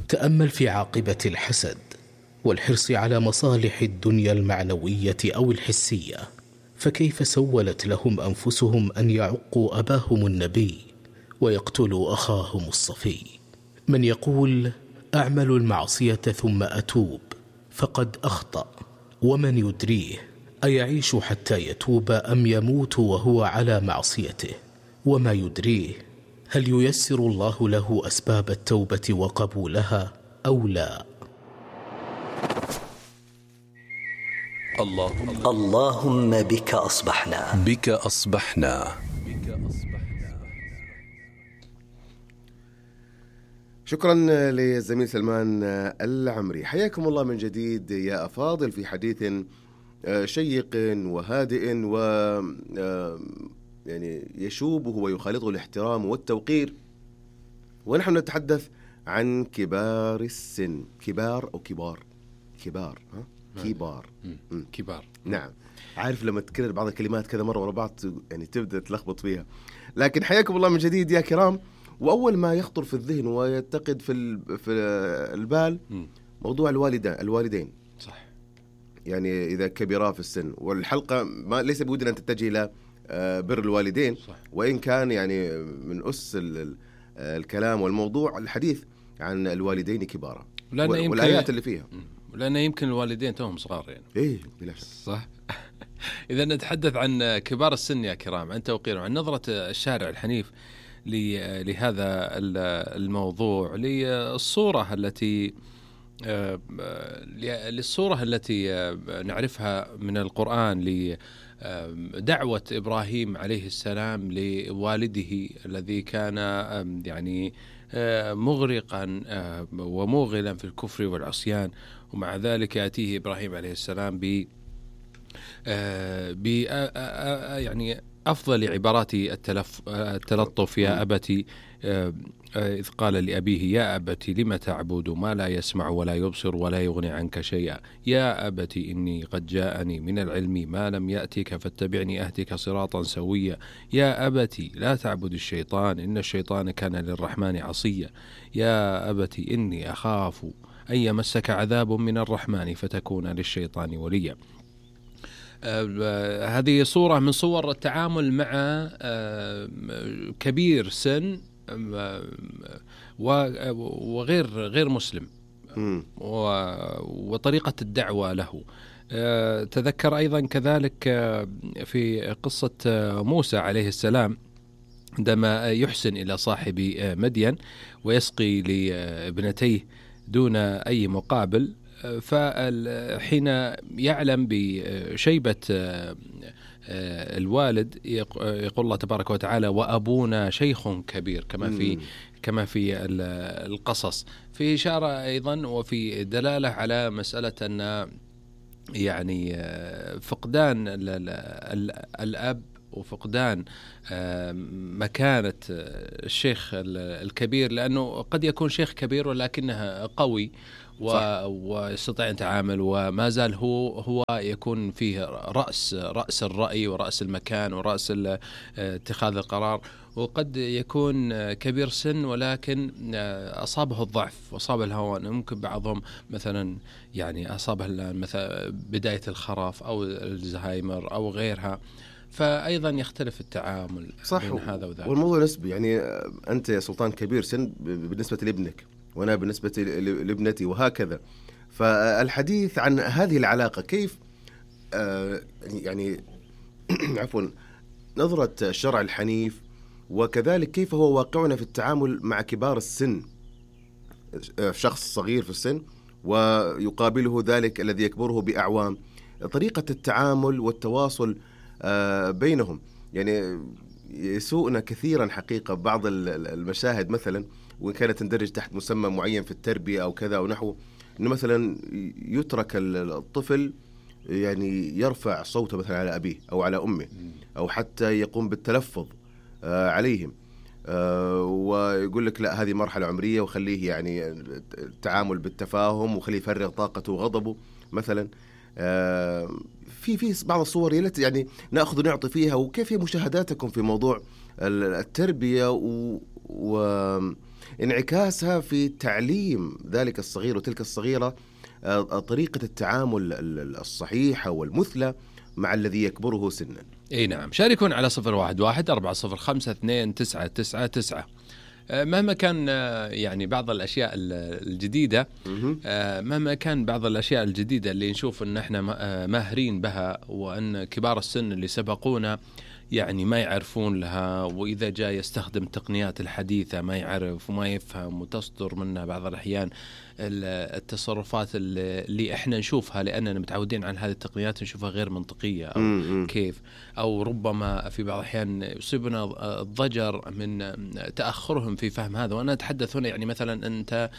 تأمل في عاقبة الحسد والحرص على مصالح الدنيا المعنوية أو الحسية، فكيف سولت لهم أنفسهم أن يعقوا أباهم النبي ويقتلوا أخاهم الصفي؟ من يقول أعمل المعصية ثم أتوب فقد أخطأ، ومن يدريه أيعيش حتى يتوب أم يموت وهو على معصيته؟ وما يدريه هل ييسر الله له أسباب التوبة وقبولها أو لا؟ اللهم بك أصبحنا. شكرا للزميل سلمان العمري. حياكم الله من جديد يا أفاضل في حديث شيق وهادئ و يعني يشوبه ويخالطه الاحترام والتوقير، ونحن نتحدث عن كبار السن. كبار أو كبار؟ كبار. نعم، عارف لما تكرر بعض الكلمات كذا مرة ورا بعض يعني تبدأ تلخبط فيها. لكن حياكم الله من جديد يا كرام. وأول ما يخطر في الذهن ويتقد في البال موضوع الوالدين. صح. يعني إذا كبرا في السن، والحلقة ما ليس بودنا أن تتجه إلى بر الوالدين، صح. وإن كان يعني من أس الكلام والموضوع الحديث عن الوالدين كبارا والآيات اللي فيها، لأن يمكن الوالدين توهم صغار يعني. إيه بالله. صح. إذا نتحدث عن كبار السن يا كرام، عن توقير، عن نظرة الشارع الحنيف لهذا الموضوع، للصورة التي نعرفها من القرآن، لدعوة إبراهيم عليه السلام لوالده الذي كان يعني مغرقا وموغلا في الكفر والعصيان، ومع ذلك يأتيه إبراهيم عليه السلام يعني أفضل عبارات التلطف: يا أبتي، إذ قال لأبيه: يا أبتي لم تعبد ما لا يسمع ولا يبصر ولا يغني عنك شيئا، يا أبتي إني قد جاءني من العلم ما لم يأتك فاتبعني أهدك صراطا سويا، يا أبتي لا تعبد الشيطان إن الشيطان كان للرحمن عصيا، يا أبتي إني أخاف أن يمسك عذاب من الرحمن فتكون للشيطان وليا. هذه صورة من صور التعامل مع كبير سن وغير مسلم، وطريقة الدعوة له. تذكر أيضا كذلك في قصة موسى عليه السلام عندما يحسن إلى صاحب مدين ويسقي لابنتيه دون أي مقابل، فحين يعلم بشيبة الوالد يقول الله تبارك وتعالى: وأبونا شيخ كبير، كما في القصص، في إشارة أيضا وفي دلالة على مسألة أن يعني فقدان الأب وفقدان مكانة الشيخ الكبير، لأنه قد يكون شيخ كبير ولكنه قوي ويستطيع أن يتعامل، وما زال هو يكون فيه رأس الرأي ورأس المكان ورأس اتخاذ القرار. وقد يكون كبير سن ولكن أصابه الضعف وأصاب الهوان، ممكن بعضهم مثلا يعني أصابه مثلا بداية الخرف أو الزهايمر أو غيرها، فأيضا يختلف التعامل بين هذا وذاك. والموضوع نسبي، يعني أنت يا سلطان كبير سن بالنسبة لابنك وأنا بالنسبة لابنتي وهكذا. فالحديث عن هذه العلاقة كيف يعني عفوا نظرة الشرع الحنيف، وكذلك كيف هو واقعنا في التعامل مع كبار السن، شخص صغير في السن ويقابله ذلك الذي يكبره بأعوام، طريقة التعامل والتواصل بينهم. يعني يسوءنا كثيرا حقيقة بعض المشاهد مثلا، وإن كانت تندرج تحت مسمى معين في التربية أو كذا أو نحو، إنه مثلا يترك الطفل يعني يرفع صوته مثلا على أبيه أو على أمه، أو حتى يقوم بالتلفظ عليهم، ويقول لك لا هذه مرحلة عمرية وخليه يعني التعامل بالتفاهم وخليه يفرغ طاقته وغضبه مثلا. في بعض الصور التي يعني نأخذ ونعطي فيها. وكيف هي مشاهداتكم في موضوع التربية انعكاسها في تعليم ذلك الصغير وتلك الصغيرة طريقة التعامل الصحيحة والمثلى مع الذي يكبره سنا. اي نعم، شاركون على 011-405-2999. مهما كان يعني بعض الأشياء الجديدة، مهما كان بعض الأشياء الجديدة اللي نشوف أن احنا ماهرين بها، وأن كبار السن اللي سبقونا يعني ما يعرفون لها، وإذا جاء يستخدم التقنيات الحديثة ما يعرف وما يفهم، وتصدر منه بعض الأحيان التصرفات اللي احنا نشوفها لأننا متعودين على هذه التقنيات نشوفها غير منطقية أو كيف، أو ربما في بعض الأحيان يصيبنا الضجر من تأخرهم في فهم هذا. وأنا أتحدث هنا يعني مثلا أنت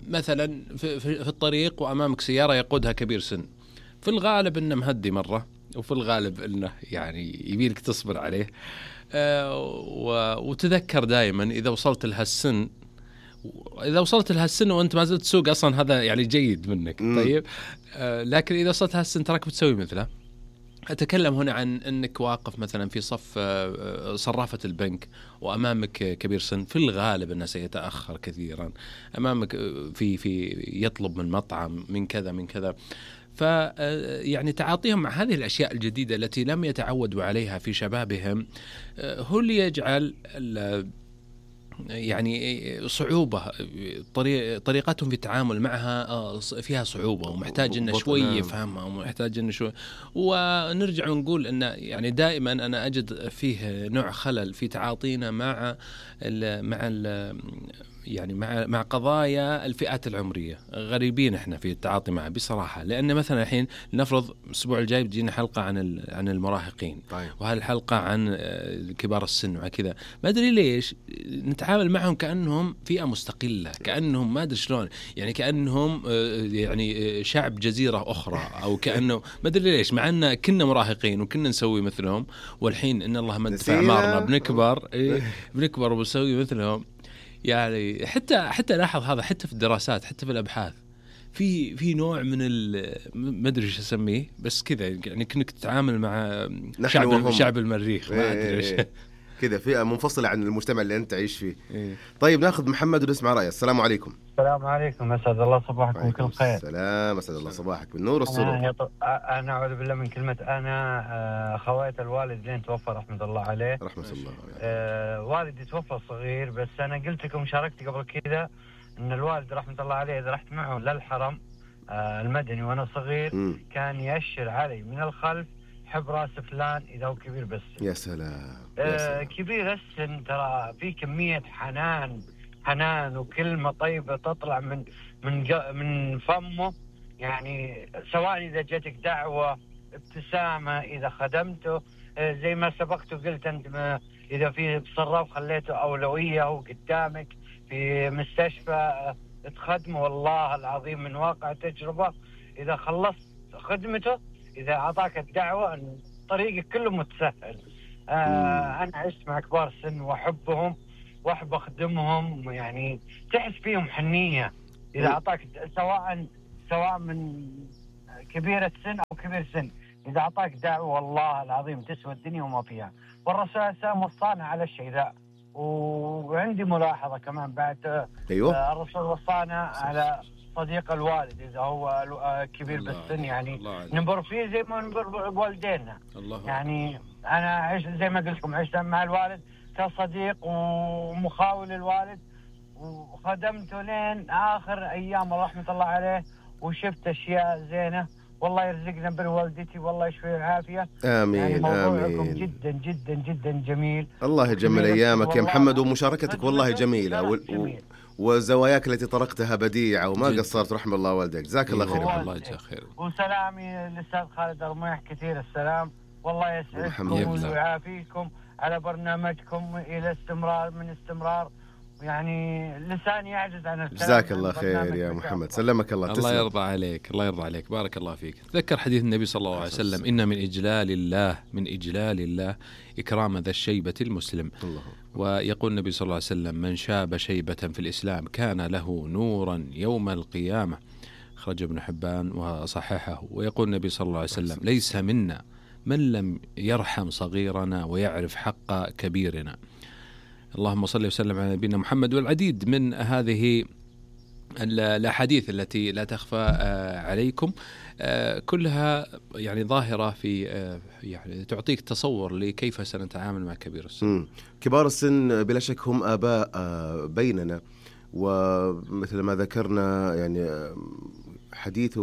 مثلا في الطريق وأمامك سيارة يقودها كبير سن، في الغالب إنه مهدي مرة، وفي الغالب إنه يعني يبيلك تصبر عليه، وتذكر دائما إذا وصلت لهالسن وأنت ما زلت تسوق أصلا هذا يعني جيد منك. طيب لكن إذا وصلت لهالسن تراك بتسوي مثله. أتكلم هنا عن أنك واقف مثلا في صف صرافة البنك وأمامك كبير سن، في الغالب أنه سيتأخر كثيرا، أمامك في يطلب من مطعم من كذا يعني تعاطيهم مع هذه الأشياء الجديدة التي لم يتعودوا عليها في شبابهم هو اللي يجعل يعني صعوبة، طريقتهم في التعامل معها فيها صعوبة، ومحتاج إن شوي يفهمها، ومحتاج إن شوي. ونرجع ونقول إن يعني دائما أنا أجد فيه نوع خلل في تعاطينا مع قضايا الفئات العمرية. غريبين احنا في التعاطي معه بصراحة، لأن مثلا الحين نفرض الأسبوع الجاي بتجينا حلقة عن المراهقين، طيب. وهالحلقة عن كبار السن وكذا، ما أدري ليش نتعامل معهم كأنهم فئة مستقلة، كأنهم ما أدري شلون، يعني كأنهم يعني شعب جزيرة أخرى، أو كأنه ما أدري ليش، مع أن كنا مراهقين وكنا نسوي مثلهم، والحين إن الله مد في أعمارنا بنكبر وبنسوي مثلهم. يعني حتى لاحظ هذا حتى في الدراسات، حتى في الأبحاث، في نوع من ما أدري إيش أسميه، بس كذا يعني كأنك تتعامل مع شعب المريخ، ما أدري إيش كذا فئة منفصلة عن المجتمع اللي أنت تعيش فيه. طيب ناخذ محمد ونسمع رأيه. السلام عليكم. السلام عليكم، أسعد الله صباحكم بكل خير. السلام، أسعد الله صباحك بالنور والسرور. أنا أعوذ بالله من كلمة أنا. خوات الوالد لين توفى رحمة الله عليه. رحمة الله عليه. والدي توفى صغير، بس أنا قلت لكم شاركت قبل كذا أن الوالد رحمة الله عليه إذا رحت معه للحرم المدني وأنا صغير كان يأشر علي من الخلف حب راس فلان إذا هو كبير بالسن. يا سلام. كبير السن ترى في كمية حنان وكلمة طيبة تطلع من فمه، يعني سواء إذا جاتك دعوة، ابتسامة، إذا خدمته زي ما سبقت وقلت أنت، إذا في صراف خليته أولوية وقدامك في مستشفى تخدمه، والله العظيم من واقع تجربة إذا خلصت خدمته، إذا أعطاك الدعوة طريقك كله متسهل. أنا عشت مع كبار السن وأحبهم وأحب أخدمهم، يعني تحس فيهم حنية إذا أعطاك، سواء من كبير السن أو كبير سن، إذا أعطاك دعوة والله العظيم تسوى الدنيا وما فيها. والرسول عليه السلام وصانا على الشيء ذا. وعندي ملاحظة كمان بعد. أيوه. الرسول وصانا على صديق الوالد إذا هو كبير بالسن، يعني ننبر فيه زي ما ننبر بوالدينا. يعني أنا عشت زي ما قلت لكم، عشت مع الوالد كصديق ومخاول الوالد، وخدمته لين آخر أيام رحمة الله عليه، وشفت أشياء زينة. والله يرزقنا بوالدتي، والله يشفي العافية. آمين. يعني موضوعكم آمين. جدا جدا جدا جميل. الله يجمل أيامك يا محمد، ومشاركتك والله جميلة، وزواياك التي طرقتها بديعة وما قصرت، رحم الله والدك. جزاك الله خير. الله يجزاك خير. وسلامي للأستاذ خالد الرميح كثير السلام، والله يسعدكم ويعافيكم على برنامجكم إلى استمرار. يعني لساني يعجز عن الكلام. جزاك الله خير يا محمد، سلمك الله. الله يرضى عليك، الله يرضى عليك، بارك الله فيك. تذكر حديث النبي صلى الله عليه وسلم: إن من إجلال الله إكرام ذا الشيبة المسلم. ويقول النبي صلى الله عليه وسلم: من شاب شيبة في الإسلام كان له نورا يوم القيامة. أخرج ابن حبان وصححه. ويقول النبي صلى الله عليه وسلم: ليس منا من لم يرحم صغيرنا ويعرف حق كبيرنا. اللهم صل وسلم على نبينا محمد. والعديد من هذه الأحاديث التي لا تخفى عليكم كلها يعني ظاهرة في يعني تعطيك تصور لكيف سنتعامل مع كبير السن. كبار السن بلا شك هم آباء بيننا، ومثل ما ذكرنا يعني حديث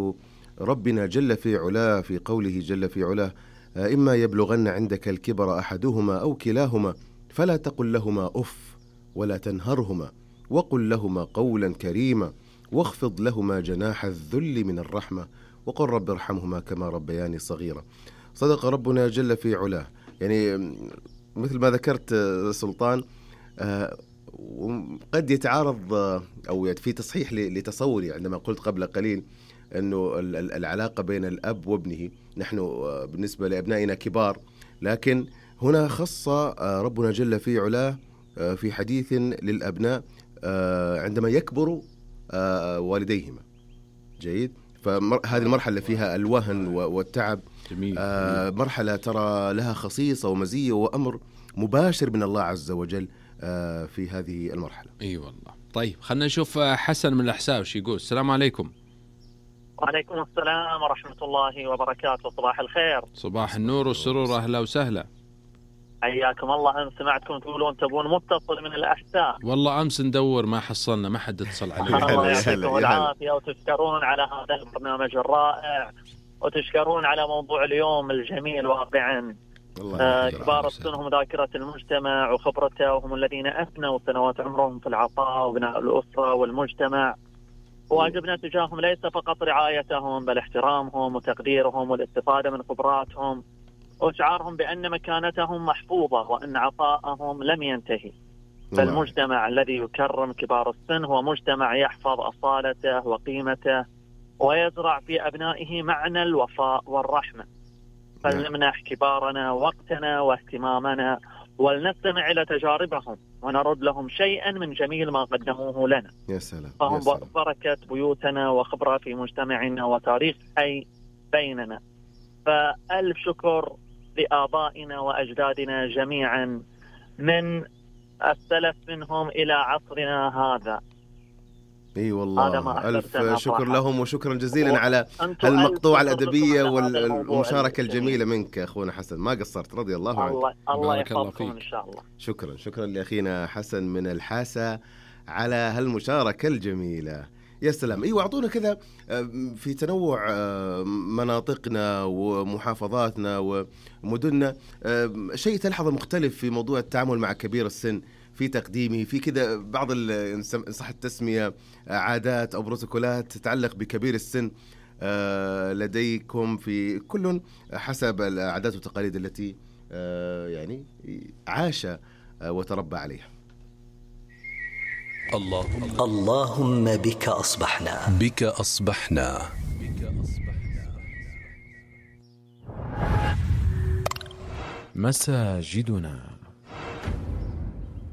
ربنا جل في علاه في قوله جل في علاه: إما يبلغن عندك الكبر أحدهما أو كلاهما فلا تقل لهما أف ولا تنهرهما وقل لهما قولا كريما واخفض لهما جناح الذل من الرحمة وقل رب ارحمهما كما ربياني صغيرا. صدق ربنا جل في علاه. يعني مثل ما ذكرت سلطان، قد يتعارض أو في تصحيح لتصوري عندما قلت قبل قليل أنه العلاقة بين الأب وابنه، نحن بالنسبة لأبنائنا كبار، لكن هنا خص ربنا جل في علاه في حديث للأبناء عندما يكبر والديهما. جيد. فهذه المرحلة فيها الوهن والتعب، مرحلة ترى لها خصيصة ومزية وأمر مباشر من الله عز وجل في هذه المرحلة. أي والله. طيب خلنا نشوف حسن من الأحساء وش يقول. السلام عليكم. وعليكم السلام ورحمة الله وبركاته. صباح الخير. صباح النور والسرور، أهلا وسهلا. حياكم الله. أنا سمعتكم تقولون تبون متصل من الأحساء. والله أمس ندور ما حصلنا، ما حد اتصل علينا. الله يعطيكم العافية وتشكرون على هذا البرنامج الرائع، وتشكرون على موضوع اليوم الجميل واقعا. كبار السن هم ذاكرة المجتمع وخبرته، وهم الذين أفنوا سنوات عمرهم في العطاء وبناء الأسرة والمجتمع. واجبنا تجاههم ليس فقط رعايتهم بل احترامهم وتقديرهم والاستفادة من خبراتهم وإشعارهم بأن مكانتهم محفوظة وأن عطاءهم لم ينتهي. فالمجتمع الذي يكرم كبار السن هو مجتمع يحفظ أصالته وقيمته ويزرع في أبنائه معنى الوفاء والرحمة. فلنمنح كبارنا وقتنا واهتمامنا ولنستمع إلى تجاربهم ونرد لهم شيئا من جميل ما قدموه لنا. يا سلام. فهم بركة بيوتنا وخبرة في مجتمعنا وتاريخ حي بيننا. فألف شكر لآبائنا وأجدادنا جميعا من السلف منهم إلى عصرنا هذا. اي والله ألف شكر لهم وشكرا جزيلا على المقطوعة الأدبية والمشاركة الجميلة منك أخونا حسن. ما قصرت، رضي الله عنك. الله يحفظكم إن شاء الله. شكرا لأخينا حسن من الحاسة على هالمشاركة الجميلة. يا سلام. ايوه، اعطونا كذا في تنوع مناطقنا ومحافظاتنا ومدننا شيء تلحظه مختلف في موضوع التعامل مع كبير السن، في تقديمه، في كذا بعض إن صح التسمية عادات أو بروتوكولات تتعلق بكبير السن لديكم في كل حسب العادات والتقاليد التي يعني عاش وتربى عليها. اللهم بك أصبحنا مساجدنا.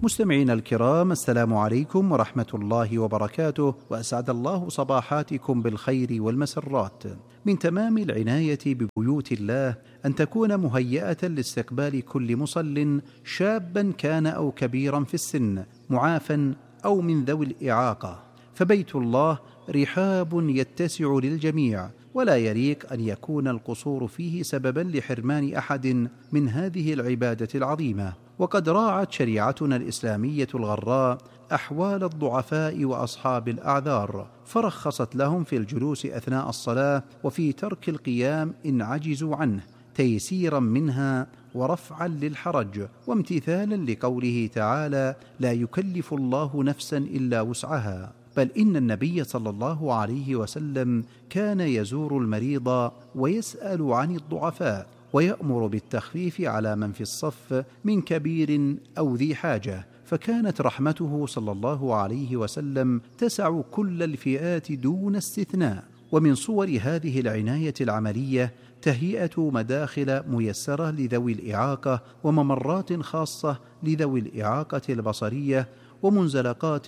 مستمعينا الكرام، السلام عليكم ورحمة الله وبركاته، وأسعد الله صباحاتكم بالخير والمسرات. من تمام العناية ببيوت الله أن تكون مهيئة لاستقبال كل مصل، شابا كان أو كبيرا في السن، معافا أو من ذوي الإعاقة. فبيت الله رحاب يتسع للجميع، ولا يليق أن يكون القصور فيه سببا لحرمان أحد من هذه العبادة العظيمة. وقد راعت شريعتنا الإسلامية الغراء أحوال الضعفاء وأصحاب الأعذار، فرخصت لهم في الجلوس أثناء الصلاة وفي ترك القيام إن عجزوا عنه، تيسيرا منها ورفعا للحرج، وامتثالا لقوله تعالى: لا يكلف الله نفسا إلا وسعها. بل إن النبي صلى الله عليه وسلم كان يزور المريض ويسأل عن الضعفاء، ويأمر بالتخفيف على من في الصف من كبير أو ذي حاجة. فكانت رحمته صلى الله عليه وسلم تسع كل الفئات دون استثناء. ومن صور هذه العناية العملية تهيئة مداخل ميسرة لذوي الإعاقة، وممرات خاصة لذوي الإعاقة البصرية، ومنزلقات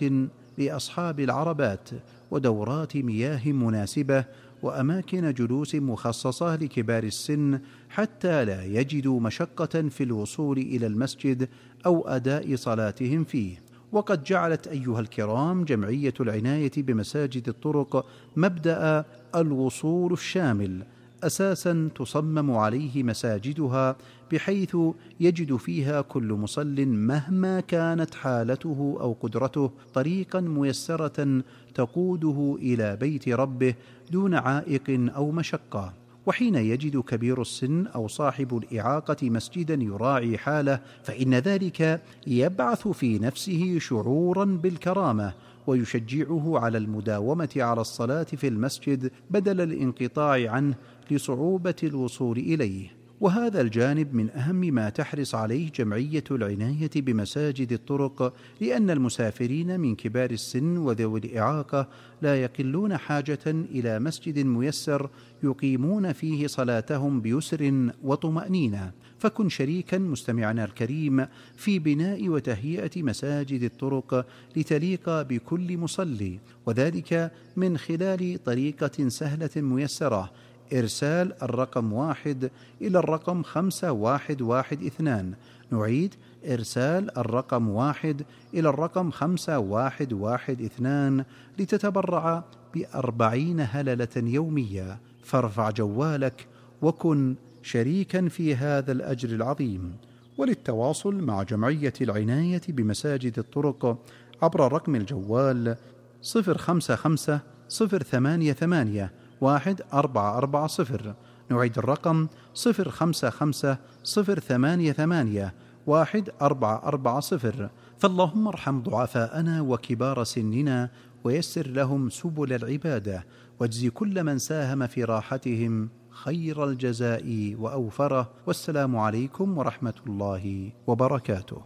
لأصحاب العربات، ودورات مياه مناسبة، وأماكن جلوس مخصصة لكبار السن حتى لا يجدوا مشقة في الوصول إلى المسجد أو أداء صلاتهم فيه. وقد جعلت أيها الكرام جمعية العناية بمساجد الطرق مبدأ الوصول الشامل أساسا تصمم عليه مساجدها، بحيث يجد فيها كل مصل مهما كانت حالته أو قدرته طريقا ميسرة تقوده إلى بيت ربه دون عائق أو مشقة. وحين يجد كبير السن أو صاحب الإعاقة مسجدا يراعي حاله، فإن ذلك يبعث في نفسه شعورا بالكرامة ويشجعه على المداومة على الصلاة في المسجد بدل الانقطاع عنه لصعوبة الوصول إليه. وهذا الجانب من أهم ما تحرص عليه جمعية العناية بمساجد الطرق، لأن المسافرين من كبار السن وذوي الإعاقة لا يقلون حاجة إلى مسجد ميسر يقيمون فيه صلاتهم بيسر وطمأنينة. فكن شريكا مستمعنا الكريم في بناء وتهيئة مساجد الطرق لتليق بكل مصلي، وذلك من خلال طريقة سهلة ميسرة: إرسال الرقم 1 إلى الرقم 5112. نعيد: إرسال الرقم 1 إلى الرقم 5112 لتتبرع ب40 هللة يومية. فارفع جوالك وكن شريكا في هذا الأجر العظيم. وللتواصل مع جمعية العناية بمساجد الطرق عبر رقم الجوال 055 088 1440. نعيد الرقم 055 088 1440. فاللهم ارحم ضعفاءنا وكبار سننا ويسر لهم سبل العبادة، واجزي كل من ساهم في راحتهم خير الجزاء وأوفره. والسلام عليكم ورحمة الله وبركاته.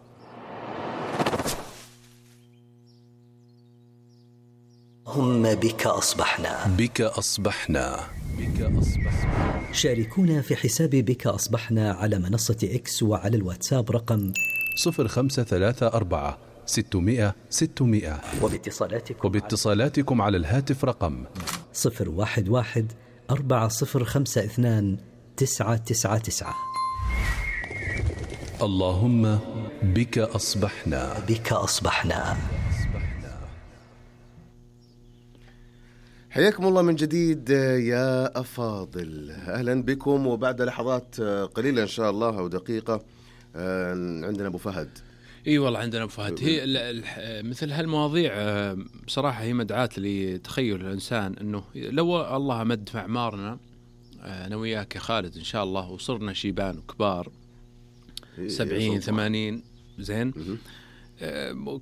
اللهم بك أصبحنا. بك أصبحنا. بك أصبحنا. شاركونا في حساب بك أصبحنا على منصة إكس وعلى الواتساب رقم 0534 600 600. وباتصالاتكم على الهاتف رقم 011 4052 999. اللهم بك أصبحنا. بك أصبحنا. حياكم الله من جديد يا أفاضل، أهلا بكم. وبعد لحظات قليلة إن شاء الله أو دقيقة عندنا أبو فهد. اي والله عندنا ابو فهد. هي مثل هالمواضيع بصراحه هي مدعاة لتخيل الانسان انه لو الله مد في اعمارنا انا وياك يا خالد ان شاء الله وصرنا شيبان وكبار 70 80 زين،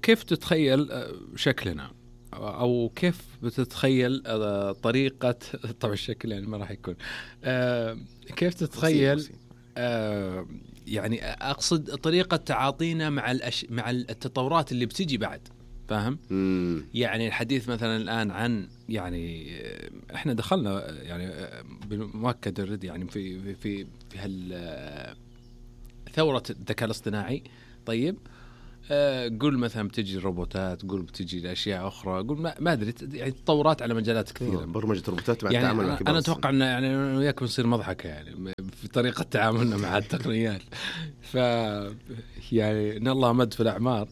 كيف تتخيل شكلنا او كيف بتتخيل طريقه طبعا الشكل يعني ما راح يكون كيف تتخيل يعني أقصد طريقة تعاطينا مع التطورات اللي بتجي بعد، فاهم؟ يعني الحديث مثلا الآن عن يعني إحنا دخلنا يعني بمؤكد الرد يعني في ثورة الذكاء الاصطناعي. طيب قول مثلا بتجي الروبوتات، قول بتجي الأشياء أخرى، قول ما أدري يعني تطورات على مجالات كثيرة. برمجة روبوتات مع يعني التعامل مع كبار. أنا أتوقع أن يعني وياكم نصير مضحكة يعني في طريقة تعاملنا مع التقنيات. يعني إن الله مد في الأعمار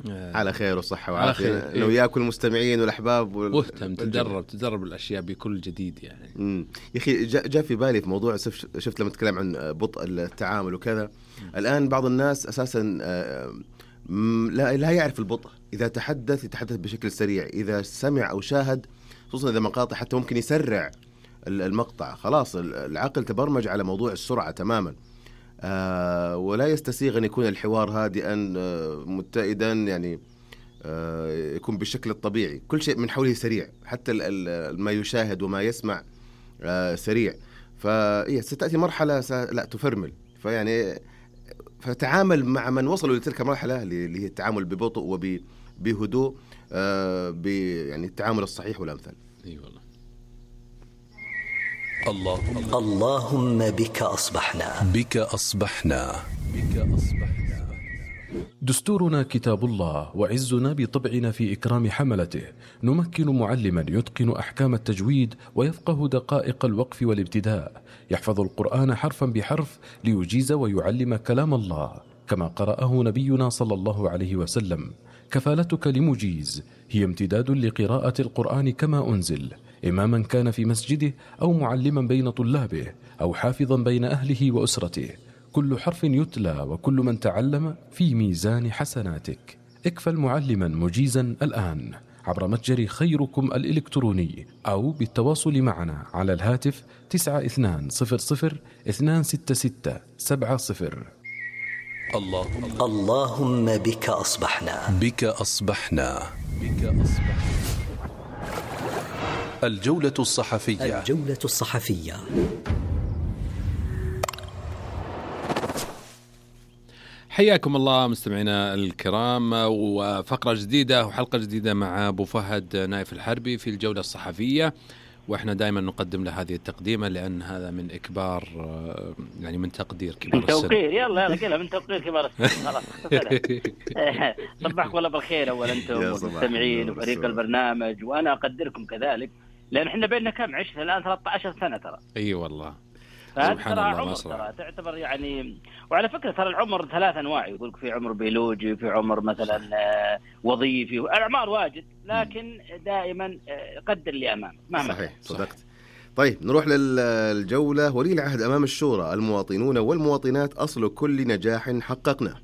على خير وصحة وعافية. أنا وياك المستمعين والأحباب مهتم تدرب الأشياء بكل جديد يعني. يا أخي جاء في بالي في موضوع شفت لما تكلم عن بطء التعامل وكذا. الآن بعض الناس أساسا لا يعرف البطء. إذا يتحدث بشكل سريع، إذا سمع أو شاهد خصوصا إذا مقاطع حتى ممكن يسرع المقطع. خلاص العقل تبرمج على موضوع السرعة تماما. ولا يستسيغ أن يكون الحوار هادئا متئدا يعني يكون بالشكل الطبيعي. كل شيء من حوله سريع، حتى ما يشاهد وما يسمع سريع. ستأتي مرحلة لا تفرمل. فيعني فتعامل مع من وصلوا لتلك المرحلة اللي هي التعامل ببطء وبهدوء، يعني التعامل الصحيح والأمثل. اي والله. اللهم بك أصبحنا. بك أصبحنا. بك أصبحنا. دستورنا كتاب الله، وعزنا بطبعنا في إكرام حملته. نمكن معلما يتقن أحكام التجويد ويفقه دقائق الوقف والابتداء، يحفظ القرآن حرفا بحرف ليجيز ويعلم كلام الله كما قرأه نبينا صلى الله عليه وسلم. كفالتك لمجيز هي امتداد لقراءة القرآن كما أنزل، إماما كان في مسجده أو معلما بين طلابه أو حافظا بين أهله وأسرته. كل حرف يتلى وكل من تعلم في ميزان حسناتك. اكفل معلما مجيزا الآن عبر متجر خيركم الإلكتروني أو بالتواصل معنا على الهاتف 9200-266-70. اللهم بك أصبحنا. بك أصبحنا. بك أصبحنا. الجولة الصحفية. الجولة الصحفية. حياكم الله مستمعينا الكرام، وفقرة جديدة وحلقة جديدة مع أبو فهد نايف الحربي في الجولة الصحفية. وإحنا دائما نقدم له هذه التقديمة لأن هذا من إكبار، يعني من تقدير كبار السن. من توقير، يلا قلها من توقير كبار السن. خلاص صبحكم الله بالخير أولا أنتم والمستمعين وفريق البرنامج، وأنا أقدركم كذلك لأن إحنا بيننا كم عشت الآن 13 سنة ترى. أي والله. ترى عمر ترى تعتبر يعني. وعلى فكرة ترى العمر 3 أنواع، يقولك في عمر بيولوجي، في عمر مثلا وظيفي، الأعمار واجد، لكن دائما قدر اللي أمامك مهما. صحيح صدقت. طيب نروح للجولة. ولي العهد أمام الشورى، المواطنون والمواطنات أصل كل نجاح حققناه.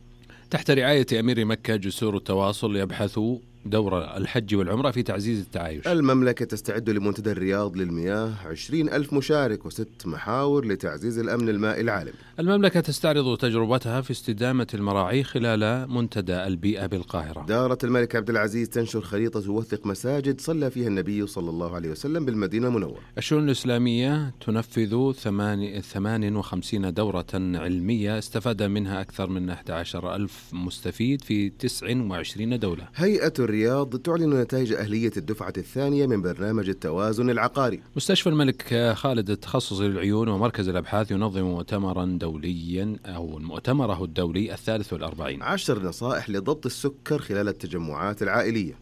تحت رعاية أمير مكة جسور التواصل يبحثوا دور الحج والعمرة في تعزيز التعايش. المملكة تستعد لمنتدى الرياض للمياه، 20,000 مشارك و6 محاور لتعزيز الأمن المائي العالمي. المملكة تستعرض تجربتها في استدامة المراعي خلال منتدى البيئة بالقاهرة. دارة الملك عبد العزيز تنشر خريطة توثق مساجد صلى فيها النبي صلى الله عليه وسلم بالمدينة المنورة. الشؤون الإسلامية تنفذ 58 دورة علمية استفاد منها أكثر من 11,000 مستفيد في 29 دولة. هيئة الرياض تعلن نتائج أهلية الدفعة الثانية من برنامج التوازن العقاري. مستشفى الملك خالد التخصصي للعيون ومركز الأبحاث ينظم مؤتمرا دوليا أو مؤتمره الدولي 43. 10 نصائح لضبط السكر خلال التجمعات العائلية.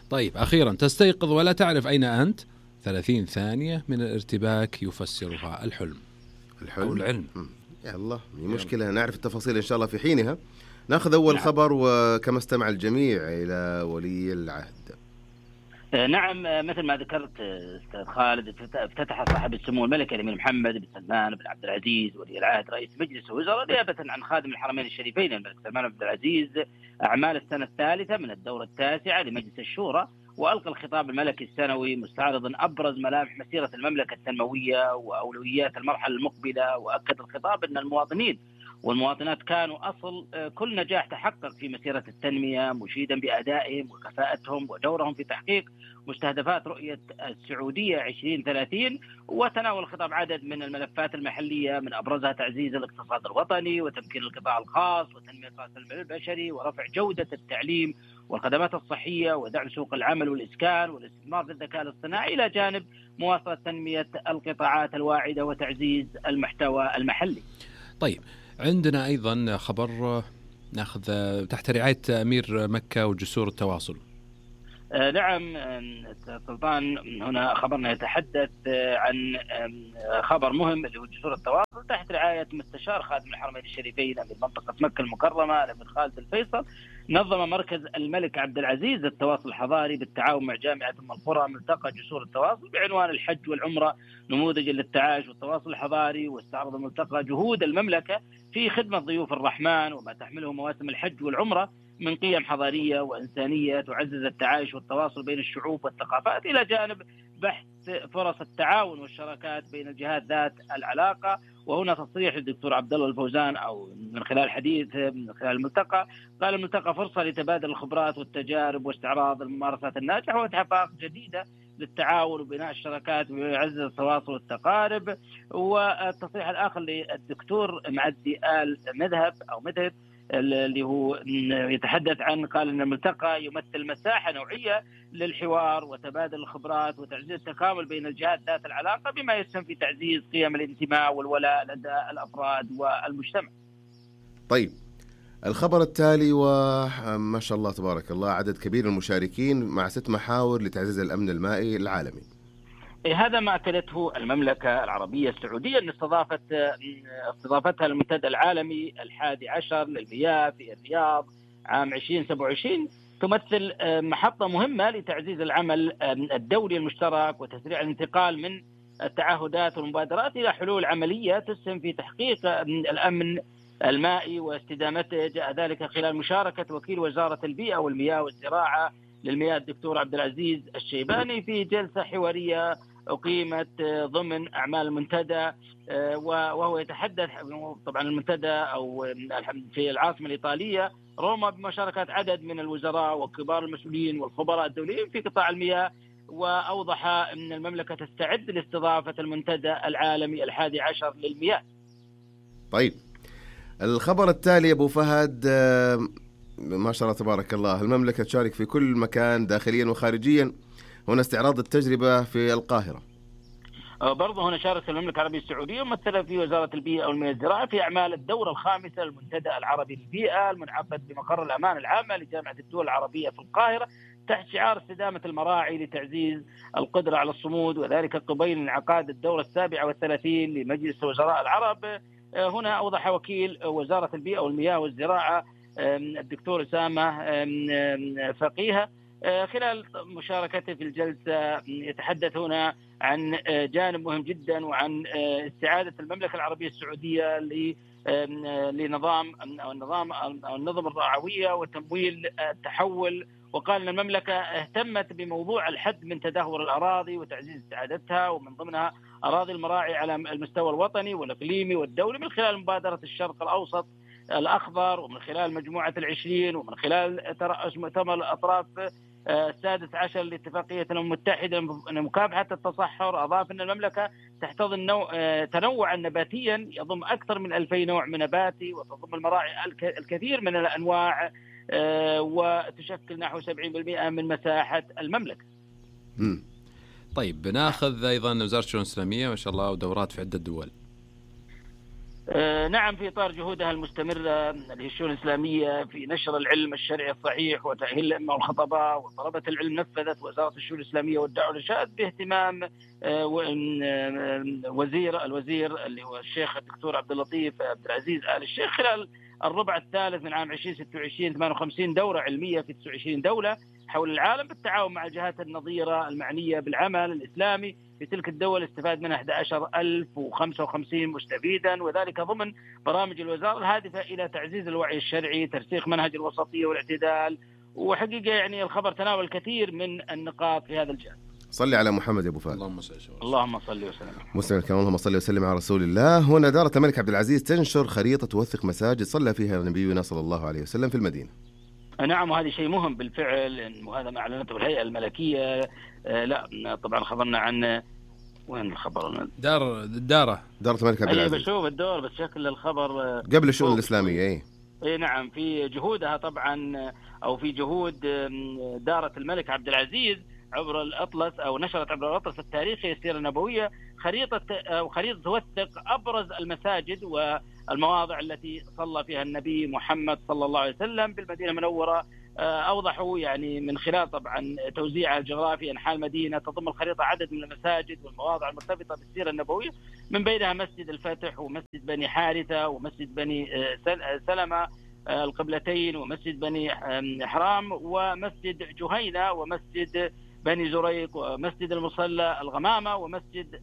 طيب أخيرا، تستيقظ ولا تعرف أين أنت، 30 ثانية من الارتباك يفسرها الحلم أو العلم. يا الله، مشكلة نعرف التفاصيل إن شاء الله في حينها. ناخذ أول خبر، وكما استمع الجميع إلى ولي العهد. نعم، مثل ما ذكرت أستاذ خالد، افتتح صاحب السمو الملكي الأمير محمد بن سلمان بن عبد العزيز ولي العهد رئيس مجلس الوزراء نيابة عن خادم الحرمين الشريفين الملك سلمان بن عبد العزيز أعمال السنة الثالثة من الدورة 9 لمجلس الشورى، وألقى الخطاب الملكي السنوي مستعرضا أبرز ملامح مسيرة المملكة التنموية وأولويات المرحلة المقبلة. وأكد الخطاب أن المواطنين والمواطنات كانوا أصل كل نجاح تحقق في مسيرة التنمية، مشيدا بأدائهم وكفاءتهم ودورهم في تحقيق مستهدفات رؤية السعودية 2030. وتناول الخطاب عدد من الملفات المحلية من أبرزها تعزيز الاقتصاد الوطني وتمكين القطاع الخاص وتنمية رأس المال البشري ورفع جودة التعليم والخدمات الصحية ودعم سوق العمل والإسكان والاستثمار في الذكاء الاصطناعي، إلى جانب مواصلة تنمية القطاعات الواعدة وتعزيز المحتوى المحلي. طيب عندنا أيضا خبر نأخذ تحت رعاية أمير مكة وجسور التواصل. نعم سلطان، هنا خبرنا يتحدث عن خبر مهم اللي هو جسور التواصل تحت رعاية مستشار خادم الحرمين الشريفين أمير منطقة مكة المكرمة الأمير خالد الفيصل. نظم مركز الملك عبد العزيز التواصل الحضاري بالتعاون مع جامعة أم القرى ملتقى جسور التواصل بعنوان الحج والعمرة نموذج للتعايش والتواصل الحضاري. واستعرض الملتقى جهود المملكة في خدمة ضيوف الرحمن وما تحمله مواسم الحج والعمرة من قيم حضارية وإنسانية تعزز التعايش والتواصل بين الشعوب والثقافات، إلى جانب بحث فرص التعاون والشراكات بين الجهات ذات العلاقة. وهنا تصريح الدكتور عبد الله الفوزان أو من خلال حديث من خلال الملتقى، قال الملتقى فرصة لتبادل الخبرات والتجارب واستعراض الممارسات الناجحة وإتحاق جديدة للتعاون وبناء الشراكات ويعزز التواصل والتقارب. والتصريح الآخر للدكتور معدي آل مذهب اللي هو يتحدث عن، قال أن الملتقى يمثل مساحة نوعية للحوار وتبادل الخبرات وتعزيز التكامل بين الجهات ذات العلاقة بما يسهم في تعزيز قيم الانتماء والولاء لدى الأفراد والمجتمع. طيب الخبر التالي، وما شاء الله تبارك الله عدد كبير من المشاركين مع 6 محاور لتعزيز الأمن المائي العالمي. هذا ما أكدته المملكة العربية السعودية أن استضافتها المنتدى العالمي 11 للمياه في الرياض عام 2027 تمثل محطة مهمة لتعزيز العمل الدولي المشترك وتسريع الانتقال من التعهدات والمبادرات إلى حلول عملية تسهم في تحقيق الأمن المائي واستدامته. جاء ذلك خلال مشاركة وكيل وزارة البيئة والمياه والزراعة للمياه الدكتور عبد العزيز الشيباني في جلسة حوارية أقيمت ضمن أعمال المنتدى، وهو يتحدث طبعا المنتدى أو في العاصمة الإيطالية روما بمشاركة عدد من الوزراء وكبار المسؤولين والخبراء الدوليين في قطاع المياه. وأوضح أن المملكة تستعد لاستضافة المنتدى العالمي 11 للمياه. طيب الخبر التالي أبو فهد، ما شاء الله تبارك الله المملكة تشارك في كل مكان داخليا وخارجيا. هنا استعراض التجربة في القاهرة. برضه هنا شاركت المملكة العربية السعودية ممثلة في وزارة البيئة والمياه والزراعة في أعمال الدورة الخامسة للمنتدى العربي للبيئة المنعقد بمقر الأمان العامة لجامعة الدول العربية في القاهرة تحت شعار استدامة المراعي لتعزيز القدرة على الصمود، وذلك قبيل انعقاد الدورة 37 لمجلس وزراء العرب. هنا أوضح وكيل وزارة البيئة والمياه والزراعة الدكتور أسامة فقيهة خلال مشاركته في الجلسة يتحدث هنا عن جانب مهم جدا وعن استعادة المملكة العربية السعودية لنظام النظم الرعوية وتمويل التحول. وقال أن المملكة اهتمت بموضوع الحد من تدهور الأراضي وتعزيز استعادتها، ومن ضمنها أراضي المراعي على المستوى الوطني والإقليمي والدولي من خلال مبادرة الشرق الأوسط الأخضر، ومن خلال مجموعة 20، ومن خلال ترأس مؤتمر الأطراف 16 لاتفاقية الأمم المتحدة لمكافحة التصحر. أضاف أن المملكة تحتضن تنوعا نباتيا يضم أكثر من 2000 نوع من نباتي، وتضم المراعي الكثير من الأنواع، وتشكل نحو 70% من مساحة المملكة. طيب بناخذ أيضا وزارة الشؤون الإسلامية ما شاء الله ودورات في عدة دول. نعم، في إطار جهودها المستمرة للشؤون الإسلامية في نشر العلم الشرعي الصحيح وتأهيل الأئمة والخطباء وطلبة العلم، نفذت وزارة الشؤون الإسلامية والدعوة والإرشاد باهتمام الوزير اللي هو الشيخ الدكتور عبد اللطيف عبد العزيز آل الشيخ خلال الربع الثالث من عام 2026 58 دورة علمية في 29 دولة حول العالم بالتعاون مع الجهات النظيرة المعنية بالعمل الإسلامي في تلك الدول. استفاد منها 11,055 مستفيدا، وذلك ضمن برامج الوزارة الهادفة إلى تعزيز الوعي الشرعي، ترسيخ منهج الوسطية والاعتدال. وحقيقة يعني الخبر تناول الكثير من النقاط في هذا الجانب. صلي على محمد يا أبو فهد. اللهم صل وسلم. مسلم الكرام، اللهم صل وسلم على رسول الله. هنا دارة الملك عبد العزيز تنشر خريطة توثق مساجد صلى فيها نبينا صلى الله عليه وسلم في المدينة. نعم، وهذا شيء مهم بالفعل، وهذا ما أعلنته الهيئة الملكية. لا طبعا خبرنا عن وين الخبر؟ دارة الملك عبد العزيز. بشوف الدور بس شكل الخبر قبل الشؤون الإسلامية. نعم، في جهودها طبعا أو في جهود دارة الملك عبد العزيز عبر الأطلس أو نشرت عبر الأطلس التاريخي السيرة النبوية خريطة توثق أبرز المساجد والمواضع التي صلى فيها النبي محمد صلى الله عليه وسلم بالمدينة المنورة. أوضحوا يعني من خلال طبعا توزيعها الجغرافي أنحاء المدينة تضم الخريطة عدد من المساجد والمواضع المرتبطة بالسيرة النبوية، من بينها مسجد الفتح ومسجد بني حارثة ومسجد بني سلمة القبلتين ومسجد بني حرام ومسجد جهينة ومسجد بني زريق ومسجد المصلى الغمامة ومسجد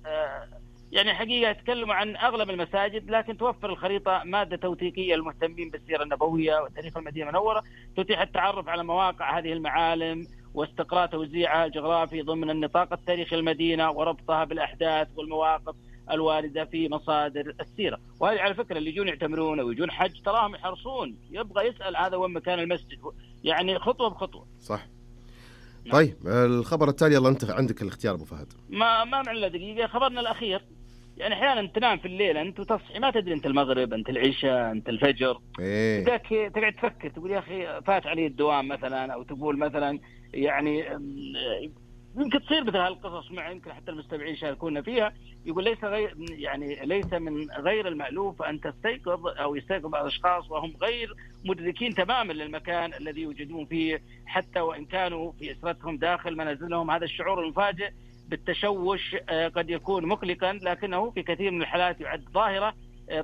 يعني حقيقة يتكلموا عن أغلب المساجد، لكن توفر الخريطة مادة توثيقية للمهتمين بالسيرة النبوية وتاريخ المدينة المنورة، تتيح التعرف على مواقع هذه المعالم واستقراء توزيعها الجغرافي ضمن النطاق التاريخي المدينة وربطها بالأحداث والمواقف الواردة في مصادر السيرة. وهذه على فكرة اللي يجون يعتمرون أو يجون حج تراهم يحرصون، يبغى يسأل هذا وين مكان المسجد، يعني خطوة بخطوة. صح. طيب الخبر التالي، يلا أنت عندك الاختيار أبو فهد. ما معنا دقيقة. خبرنا الأخير، يعني أحيانا تنام في الليل أنت وتصحي ما تدري أنت المغرب أنت العشاء أنت الفجر، تقعد تفكر تقول يا أخي فات علي الدوام مثلا، أو تقول مثلا يعني يمكن تصير مثل هالقصص مع يمكن حتى المستمعين يشاركونا فيها. يقول ليس من غير المألوف أن تستيقظ أو يستيقظ بعض الأشخاص وهم غير مدركين تماما للمكان الذي يوجدون فيه، حتى وإن كانوا في أسرتهم داخل منازلهم. هذا الشعور المفاجئ بالتشوش قد يكون مقلقا، لكنه في كثير من الحالات يعد ظاهرة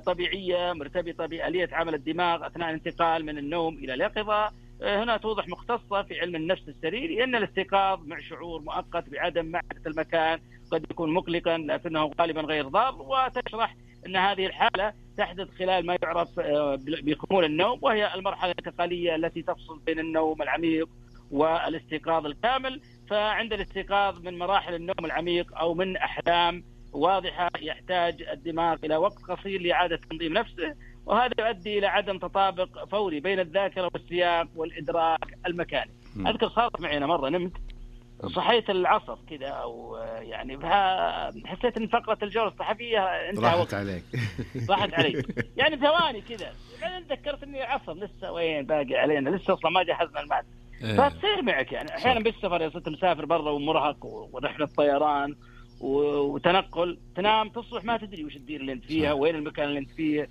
طبيعية مرتبطة بآلية عمل الدماغ أثناء الانتقال من النوم إلى اليقظة. هنا توضح مختصة في علم النفس السريري أن الاستيقاظ مع شعور مؤقت بعدم معرفة المكان قد يكون مقلقا لكنه غالبا غير ضار، وتشرح أن هذه الحالة تحدث خلال ما يعرف بخمول النوم، وهي المرحلة الانتقالية التي تفصل بين النوم العميق والاستيقاظ الكامل. فعند الاستيقاظ من مراحل النوم العميق أو من أحلام واضحة يحتاج الدماغ إلى وقت قصير لإعادة تنظيم نفسه، وهذا يؤدي إلى عدم تطابق فوري بين الذاكرة والسياق والإدراك المكاني. أذكر صارت معي أنا مرة نمت صحيت العصر كذا أو يعني حسيت إن فقرة الجولة الصحفية انتهى راحت عليك راحت علي يعني ثواني كذا، بعدين تذكرت إني العصر لسه وين باقي علينا، لسه أصلا ما جهزنا المعد. فتصير معك يعني أحيانا بالسفر، يا صرت مسافر برا ومرهق ورحلة طيران وتنقل، تنام تصبح ما تدري وش الدير اللي انت فيها وين المكان اللي انت فيه،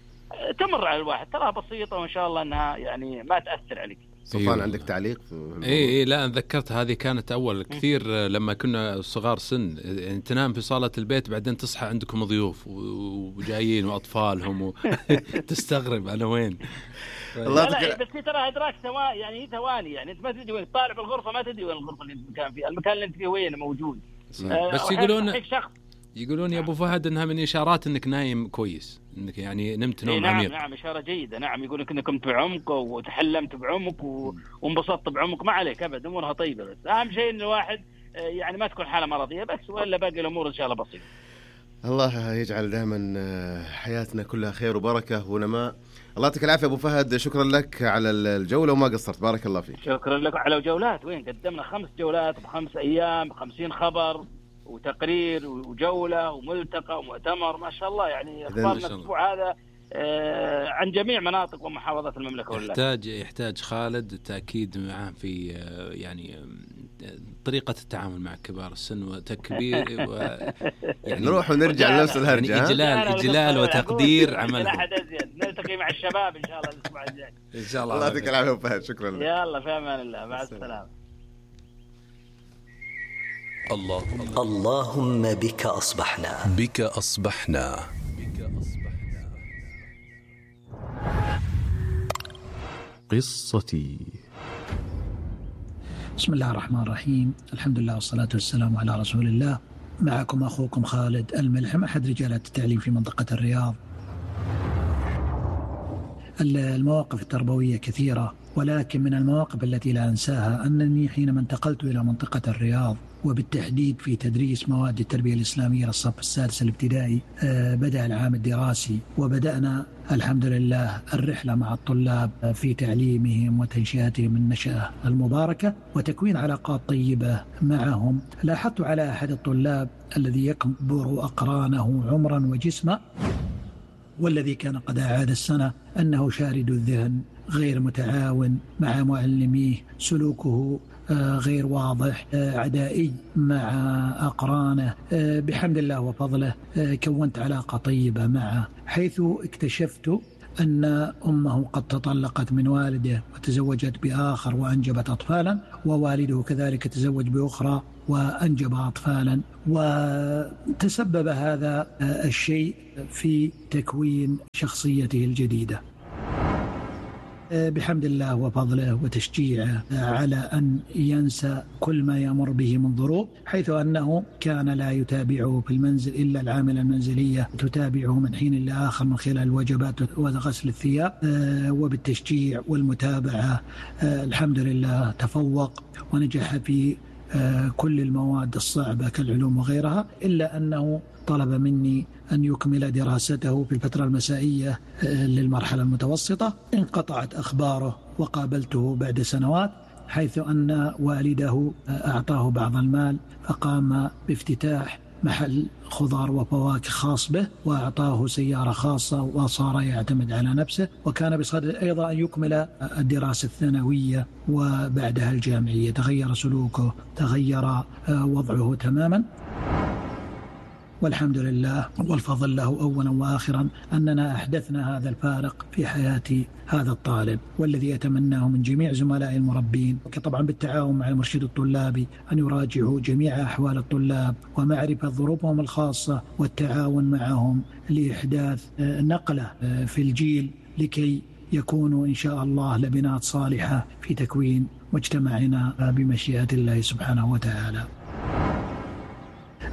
تمر على الواحد تراها بسيطة وإن شاء الله أنها يعني ما تأثر عليك. سلطان عندك تعليق؟ إيه لا أنا ذكرت هذه كانت أول كثير لما كنا صغار سن، تنام في صالة البيت بعدين تصحى عندكم ضيوف وجايين وأطفالهم وتستغرب أنا وين. لا بس ترى إدراك يعني ثواني، يعني أنت ما تدري وين طالع بالغرفة، ما تدري وين الغرفة اللي أنت كان فيها، المكان اللي أنت فيه وين موجود. بس يقولون يا أبو فهد أنها من إشارات أنك نايم كويس، أنك يعني نمت نوم عميق. نعم إشارة جيدة. نعم يقول لك أنك نمت بعمق وتحلمت بعمق وانبسطت بعمق، ما عليك أبدا، أمورها طيبة. بس أهم شيء إن الواحد يعني ما تكون حالة مرضية بس، وإلا باقي الأمور إن شاء الله بسيطة. الله يجعل دائما حياتنا كلها خير وبركة ونماء. الله يعطيك العافية أبو فهد، شكرا لك على الجولة وما قصرت، بارك الله فيك. شكرا لك على جولات، وين قدمنا 5 جولات ب5 أيام 50 خبر وتقرير وجولة وملتقى ومؤتمر، ما شاء الله يعني أخبارنا الأسبوع هذا عن جميع مناطق ومحافظات المملكة. يحتاج خالد تأكيد معه في يعني طريقة التعامل مع كبار السن وتكبير يعني نروح ونرجع لنفس الهرجة، يعني إجلال وتقدير عمل. لا أحد أزيد، نلتقي مع الشباب إن شاء الله الأسبوع الجاي إن شاء الله. الله يعطيك العافية أبو فهد، شكرا لك. يلا في أمان الله، مع السلامة. اللهم بك أصبحنا قصتي. بسم الله الرحمن الرحيم، الحمد لله والصلاة والسلام على رسول الله. معكم أخوكم خالد الملحم، أحد رجالات التعليم في منطقة الرياض. المواقف التربوية كثيرة، ولكن من المواقف التي لا أنساها أنني حينما انتقلت إلى منطقة الرياض وبالتحديد في تدريس مواد التربية الإسلامية للصف السادس الابتدائي، بدأ العام الدراسي وبدأنا الحمد لله الرحلة مع الطلاب في تعليمهم وتنشئتهم النشأة المباركة وتكوين علاقات طيبة معهم. لاحظت على أحد الطلاب الذي يكبر أقرانه عمرا وجسما والذي كان قد أعاد السنة أنه شارد الذهن، غير متعاون مع معلميه، سلوكه غير واضح، عدائي مع أقرانه. بحمد الله وفضله كونت علاقة طيبة معه، حيث اكتشفت أن أمه قد تطلقت من والده وتزوجت بآخر وأنجبت أطفالا، ووالده كذلك تزوج بأخرى وأنجب أطفالا، وتسبب هذا الشيء في تكوين شخصيته الجديدة. بحمد الله وفضله وتشجيعه على أن ينسى كل ما يمر به من ظروف، حيث أنه كان لا يتابعه في المنزل إلا العاملة المنزلية تتابعه من حين لآخر من خلال الوجبات وغسل الثياب. وبالتشجيع والمتابعة الحمد لله تفوق ونجح في كل المواد الصعبة كالعلوم وغيرها، إلا أنه طلب مني أن يكمل دراسته في الفترة المسائية للمرحلة المتوسطة. انقطعت أخباره وقابلته بعد سنوات، حيث أن والده أعطاه بعض المال فقام بافتتاح محل خضار وفواكه خاص به، وأعطاه سيارة خاصة وصار يعتمد على نفسه، وكان بصدد أيضا أن يكمل الدراسة الثانوية وبعدها الجامعية. تغير سلوكه، تغير وضعه تماما، والحمد لله والفضل له أولا وآخرا أننا أحدثنا هذا الفارق في حياة هذا الطالب، والذي أتمناه من جميع زملاء المربين طبعا بالتعاون مع المرشد الطلابي أن يراجعوا جميع أحوال الطلاب ومعرفة ظروفهم الخاصة والتعاون معهم لإحداث نقلة في الجيل لكي يكونوا إن شاء الله لبنات صالحة في تكوين مجتمعنا بمشيئة الله سبحانه وتعالى.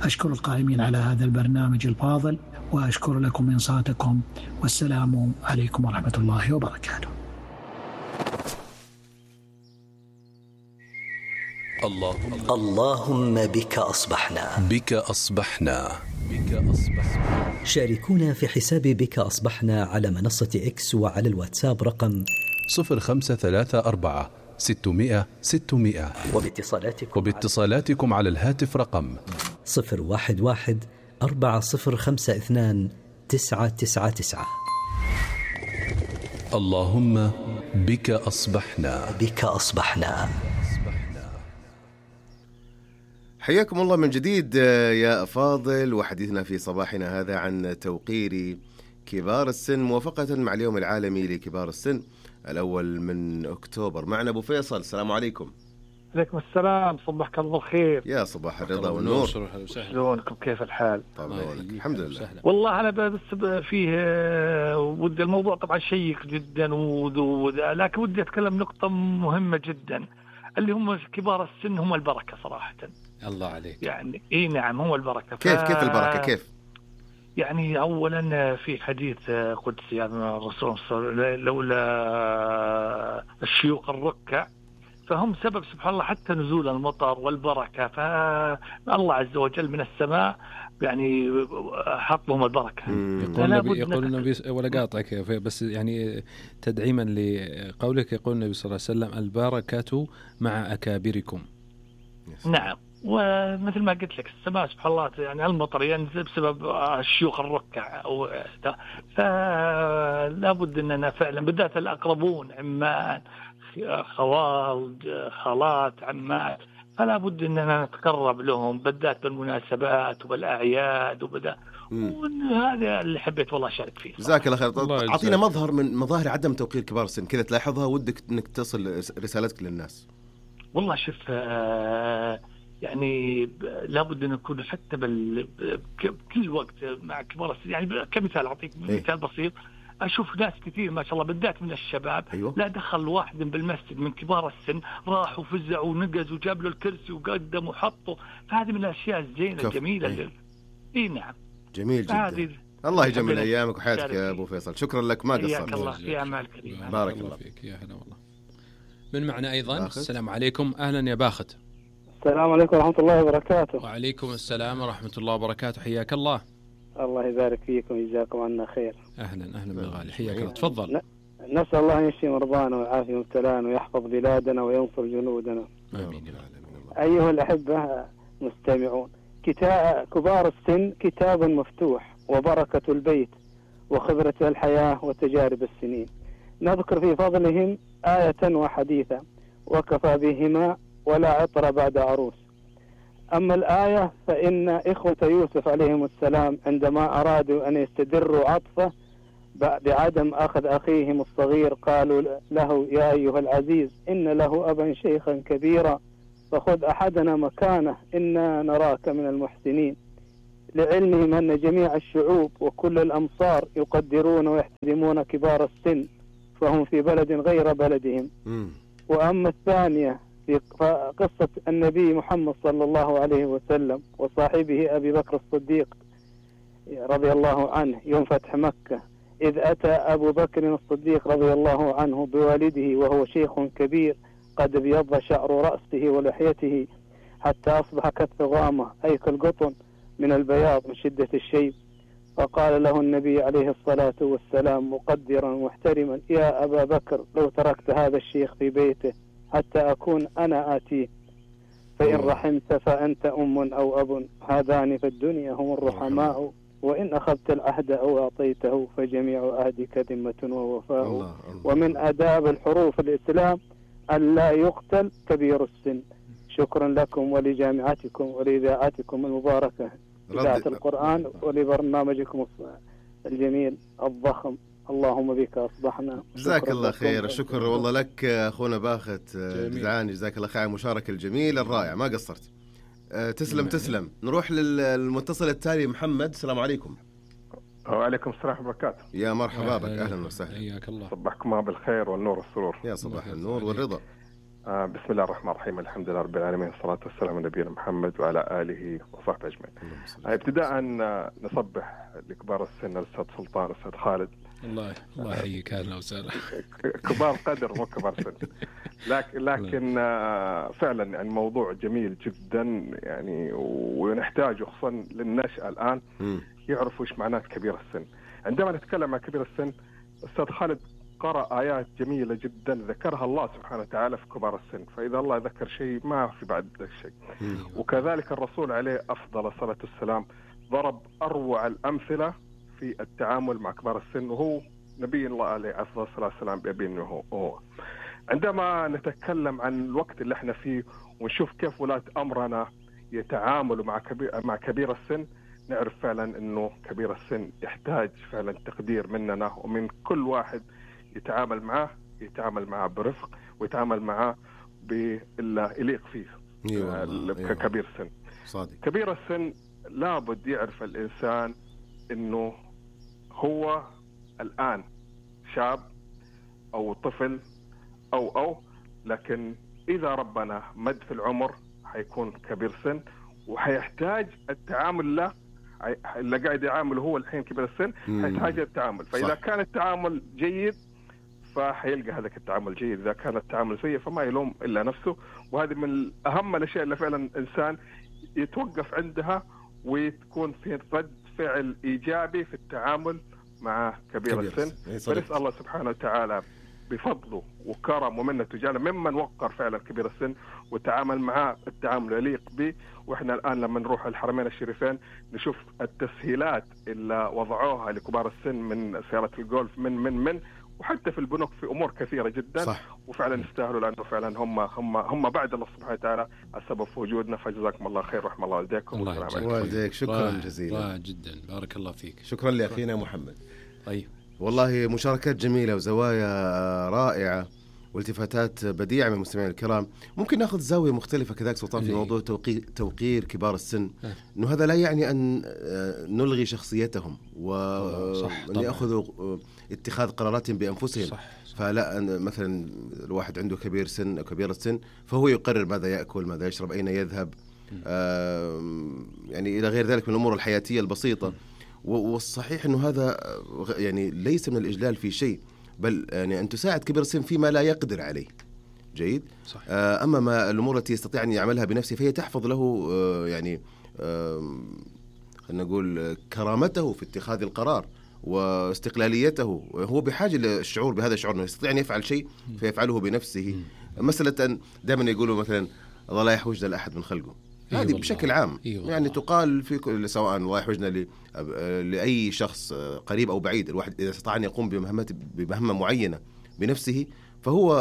أشكر القائمين على هذا البرنامج الفاضل، وأشكر لكم إنصاتكم، والسلام عليكم ورحمة الله وبركاته. اللهم بك أصبحنا. بك أصبحنا. شاركونا في حساب بك أصبحنا على منصة إكس وعلى الواتساب رقم 0534 600 600، وباتصالاتكم على الهاتف رقم 011 4052 999. اللهم بك أصبحنا. بك أصبحنا. حياكم الله من جديد يا أفاضل، وحديثنا في صباحنا هذا عن توقير كبار السن موافقة مع اليوم العالمي لكبار السن الأول من أكتوبر. معنا أبو فيصل، السلام عليكم. عليكم السلام، صبحك الله خير. يا صباح الرضا والنور، شلونكم؟ كيف الحال؟ طبعا الحمد لله. والله أنا بس فيه ودي الموضوع طبعا شيق جدا لكن ودي أتكلم نقطة مهمة جدا، اللي هم كبار السن هم البركة صراحة. الله عليك. يعني إيه نعم، هم البركة. كيف البركة؟ كيف؟ يعني أولا في حديث قدسي عن الرسول صلى الله عليه وسلم: لولا الشيوخ الركع فهم سبب سبحان الله حتى نزول المطر والبركة، فالله عز وجل من السماء يعني حط لهم البركة. يقول النبي ولا قاطعك بس يعني تدعيما لقولك، يقول النبي صلى الله عليه وسلم: البركة مع أكابركم. نعم، ومثل ما قلت لك السماء سبحان الله يعني المطر ينزل بسبب الشيوخ الركع، فلا بد أننا فعلا بالذات الأقربون، عمان، خوال، خالات، عمات، فلا بد أننا نتقرب لهم بالذات بالمناسبات وبالأعياد وهذا اللي حبيت والله أشارك فيه. جزاك الله خير. أعطينا مظهر من مظاهر عدم توقير كبار السن كذا تلاحظها ودك أنك تصل رسالتك للناس. والله شوف يعني لابد أن نكون حتى بكل وقت مع كبار السن. يعني كمثال أعطيك مثال بسيط، أشوف ناس كثير ما شاء الله بالذات من الشباب لا دخل واحد بالمسجد من كبار السن راح وفزع ونقز وجاب له الكرسي وقدم وحطه، فهذه من الأشياء الزينة الجميلة. إيه نعم، جميل جدا. الله يجمل أيامك وحياتك يا أبو فيصل، شكرا لك، ما قصرت. حياك الله في أعمال كريمة. بارك الله فيك. يا هلا والله. من معنا أيضا باخت. السلام عليكم. أهلا يا باخت. السلام عليكم ورحمة الله وبركاته. وعليكم السلام ورحمة الله وبركاته، حياك الله. الله يبارك فيكم ويجزاكم عنا خير. أهلا بالغالي، حياك الله، تفضل. نسأل الله أن يشفي مرضانا ويعافي مبتلانا ويحفظ بلادنا وينصر جنودنا. آمين. أيها الأحبة مستمعون، كبار السن كتاب مفتوح وبركة البيت وخبرة الحياة وتجارب السنين. نذكر في فضلهم آية وحديثا وكفى بهما ولا عطر بعد عروس. أما الآية فإن إخوة يوسف عليهم السلام عندما أرادوا أن يستدروا عطفه بعدم أخذ أخيهم الصغير قالوا له: يا أيها العزيز إن له أبا شيخا كبيرا فخذ أحدنا مكانه إنا نراك من المحسنين، لعلمهم أن جميع الشعوب وكل الأمصار يقدرون ويحترمون كبار السن فهم في بلد غير بلدهم. وأما الثانية في قصة النبي محمد صلى الله عليه وسلم وصاحبه أبي بكر الصديق رضي الله عنه يوم فتح مكة، إذ أتى أبو بكر الصديق رضي الله عنه بوالده وهو شيخ كبير قد ابيض شعر رأسه ولحيته حتى أصبح كالثغامة أي كالقطن من البياض من شدة الشيب، فقال له النبي عليه الصلاة والسلام مقدرا محترما: يا أبا بكر لو تركت هذا الشيخ في بيته حتى أكون أنا آتيه. فإن رحمت فأنت أم أو أب، هذان في الدنيا هم الرحماء، وإن أخذت العهد أو أعطيته فجميع عهدك ذمة ووفاء. ومن آداب الحروف الإسلام أن لا يقتل كبير السن. شكرا لكم ولجامعتكم ولإذاعتكم المباركة إذاعة القرآن ولبرنامجكم الجميل الضخم. اللهم بك أصبحنا. جزاك الله خير. شكر والله لك أخونا باخت جدعان، جزاك الله خير على المشاركة الجميلة الرائعة، ما قصرت. تسلم. نروح للمتصل التالي محمد. السلام عليكم. وعليكم السلام ورحمة الله وبركاته. يا مرحبا بك، أهلا وسهلا. حياك الله. صبحكم بالخير والنور والسرور. يا صباح النور والرضا. بسم الله الرحمن الرحيم، الحمد لله رب العالمين، والصلاة والسلام على نبينا محمد وعلى آله وصحبه أجمعين. ابتداء نصبح لكبار السن، الأستاذ سلطان، الأستاذ خالد. الله يحييك، أهلا وسهلا. كبار قدر مو كبار سن. لكن فعلا يعني موضوع جميل جدا يعني، ونحتاجه خصوصا للنشأة الآن يعرفوا إيش معناه كبير السن. عندما نتكلم عن كبير السن، أستاذ خالد قرأ آيات جميلة جدا ذكرها الله سبحانه وتعالى في كبار السن، فإذا الله ذكر شيء ما في بعد ذلك شيء. وكذلك الرسول عليه أفضل الصلاة والسلام ضرب أروع الأمثلة في التعامل مع كبار السن، وهو نبي الله عليه أفضل الصلاة والسلام بأبينه هو. عندما نتكلم عن الوقت اللي احنا فيه ونشوف كيف ولاة أمرنا يتعاملوا مع كبير السن، نعرف فعلا أنه كبير السن يحتاج فعلا تقدير مننا ومن كل واحد يتعامل معه برفق، ويتعامل معه بالله يليق فيه. ككبير السن. صادق. كبير السن لابد يعرف الإنسان أنه هو الآن شاب أو طفل أو لكن إذا ربنا مد في العمر حيكون كبير سن، وحيحتاج التعامل له اللي قاعد يعامله هو الحين كبير السن، حيحتاج التعامل. فإذا كان التعامل جيد فحيلقى هذاك التعامل جيد، إذا كان التعامل سيء فما يلوم إلا نفسه. وهذه من أهم الأشياء اللي فعلا الإنسان يتوقف عندها، وتكون في رد فعل إيجابي في التعامل مع كبير السن. فنسأل الله سبحانه وتعالى بفضله وكرم ومنته جعل ممن وقر فعلا كبير السن وتعامل معاه التعامل يليق به. وإحنا الآن لما نروح الحرمين الشريفين نشوف التسهيلات اللي وضعوها لكبار السن، من سيارة الجولف من وحتى في البنوك في أمور كثيرة جدا. صح. وفعلا يستاهلوا، لأنه فعلا هم بعد الله سبحانه وتعالى السبب في وجودنا. فجزاكم الله خير ورحمة الله والديكم. والديك شكرا جزيلا. جدا بارك الله فيك. شكرا لأخينا محمد. طيب والله مشاركات جميلة وزوايا رائعة والتفاتات بديعة من المستمعين الكرام. ممكن ناخذ زاوية مختلفة كذلك سلطان في موضوع توقير كبار السن، إنه هذا لا يعني أن نلغي شخصيتهم وأن يأخذوا اتخاذ قرارات بأنفسهم. فلا مثلا الواحد عنده كبير سن أو كبير السن فهو يقرر ماذا يأكل، ماذا يشرب، أين يذهب، يعني إلى غير ذلك من الأمور الحياتية البسيطة. والصحيح أنه هذا يعني ليس من الإجلال في شيء، بل يعني أن تساعد كبير السن فيما لا يقدر عليه. جيد. صح. أما ما الأمور التي يستطيع أن يعملها بنفسه فهي تحفظ له يعني خلينا نقول كرامته في اتخاذ القرار واستقلاليته. هو بحاجة للشعور بهذا الشعور أنه يستطيع أن يفعل شيء فيفعله بنفسه. مسألة دائما يقولوا مثلا الله لا يحوجنا لأحد من خلقه، هذه بشكل عام يعني تقال في كل، سواء الله يحوجنا لأي شخص قريب أو بعيد. الواحد إذا استطاع أن يقوم بمهمة معينة بنفسه فهو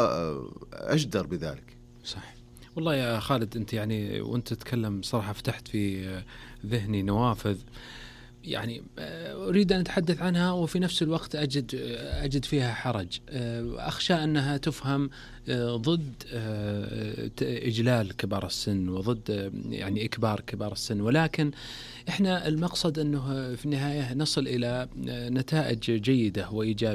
أجدر بذلك. صح. والله يا خالد أنت يعني وأنت تتكلم صراحة فتحت في ذهني نوافذ يعني أريد أن أتحدث عنها، وفي نفس الوقت أجد فيها حرج. أخشى أنها تفهم ضد إجلال كبار السن وضد يعني إكبار كبار السن، ولكن إحنا المقصد أنه في النهاية نصل إلى نتائج جيدة وإيجابية.